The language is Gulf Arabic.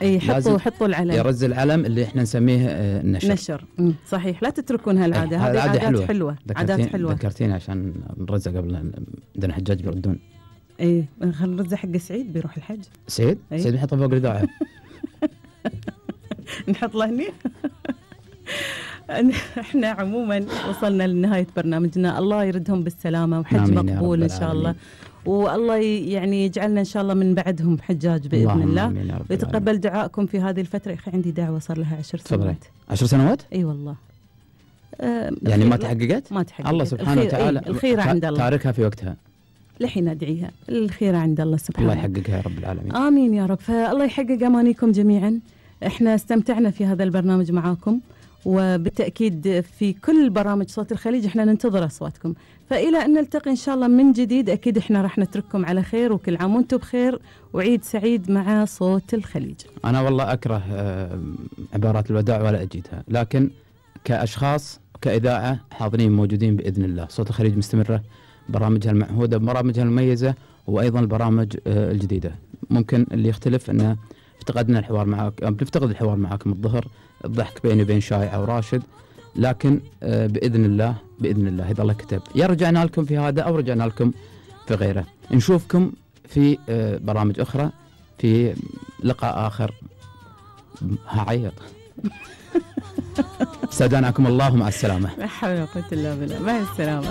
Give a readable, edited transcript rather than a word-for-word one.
اي حطوا العلم، يرز العلم اللي احنا نسميه نشر. صحيح، لا تتركون هالعاده، هذه عادات حلوه. عادات حلوه. ذكرتيني عشان نرزق قبل عندنا حجاج بيردون. اي خلينا نرزق حق سعيد بيروح الحج. سعيد بنحطه فوق الإذاعة. نحط له هني. احنا عموما وصلنا لنهايه برنامجنا، الله يردهم بالسلامه وحج مقبول ان شاء الله، والله يعني يجعلنا ان شاء الله من بعدهم حجاج باذن الله، ويتقبل دعائكم في هذه الفتره. يا اخي عندي دعوه صار لها 10 سنوات. 10 سنوات؟ اي والله. يعني ما تحققت؟ ما تحققت. الله سبحانه وتعالى الخيره عند الله، تاركها في وقتها. لحين ادعيها، الخيره عند الله سبحانه. الله يحققها يا رب العالمين. امين يا رب. فالله يحقق امانيكم جميعا. احنا استمتعنا في هذا البرنامج معاكم، وبالتأكيد في كل برامج صوت الخليج احنا ننتظر أصواتكم. فإلى أن نلتقي إن شاء الله من جديد، أكيد احنا راح نترككم على خير، وكل عام وانتم بخير، وعيد سعيد مع صوت الخليج. أنا والله أكره عبارات الوداع ولا أجيدها، لكن كأشخاص كإذاعة حاضرين موجودين بإذن الله. صوت الخليج مستمرة، برامجها المعهودة، برامجها المميزة، وأيضا البرامج الجديدة. ممكن اللي يختلف أنه افتقدنا الحوار معك، بنفتقد الحوار معكم الظهر، الضحك بيني وبين شايعة وراشد، لكن بإذن الله إذا الله كتب يا رجعنا لكم في هذا أو رجعنا لكم في غيره. نشوفكم في برامج أخرى، في لقاء آخر. هعيط. استودعناكم الله، مع السلامة. لا حول ولا قوة إلا بالله، مع السلامة.